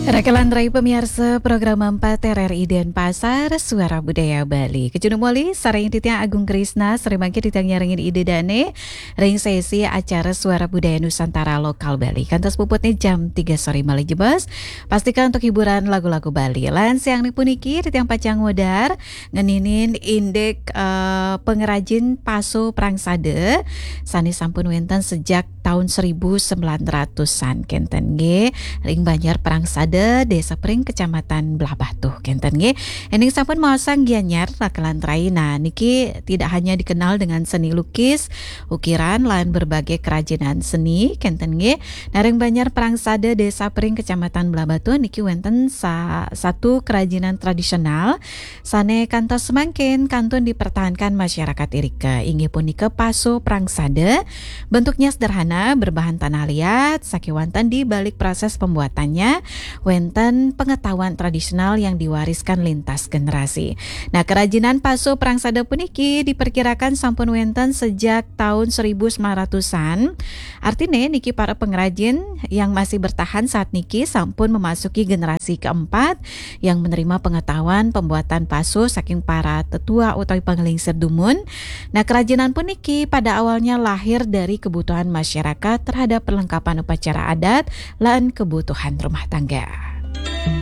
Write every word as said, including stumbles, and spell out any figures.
Rakelan rai pamiarsa program empat R R I Denpasar, Suara Budaya Bali. Kacunduk malih sareng titiang Agung Krisna, sareng mangkin titiang nyarengin Ida Dane ring sesi acara Suara Budaya Nusantara Lokal Bali. Kantos puputne jam tiga sore malih jebos. Pastika untuk hiburan lagu-lagu Bali. Lan siang puniki titiang pacang ngudar ngeninin indik, eh, pengrajin paso prangsada sane sampun wenten sejak tahun seribu sembilan ratusan kenten nggih, ring Banjar Prangsada, Desa Pring, Kecamatan Blahbatuh kenten nggih. Ening sampun maosang Gianyar, rakelan rai. Nah, niki tidak hanya dikenal dengan seni lukis, ukiran, lan berbagai kerajinan seni kenten nggih. Nah, ring Banjar Prangsada, Desa Pring, Kecamatan Blahbatuh niki wenten sa-, satu kerajinan tradisional sane kantos semangkin kantun dipertahankan masyarakat irika, inggih punika paso prangsada. Bentuknya sederhana, berbahan tanah liat, sakewanten di balik proses pembuatannya wenten pengetahuan tradisional yang diwariskan lintas generasi. Nah, kerajinan paso prangsada puniki diperkirakan sampun wenten sejak tahun seribu sembilan ratusan. Artine niki para pengrajin yang masih bertahan saat niki sampun memasuki generasi keempat yang menerima pengetahuan pembuatan paso saking para tetua utawi panglingsir dumun. Nah, kerajinan puniki pada awalnya lahir dari kebutuhan masyarakat terhadap perlengkapan upacara adat lan kebutuhan rumah tangga.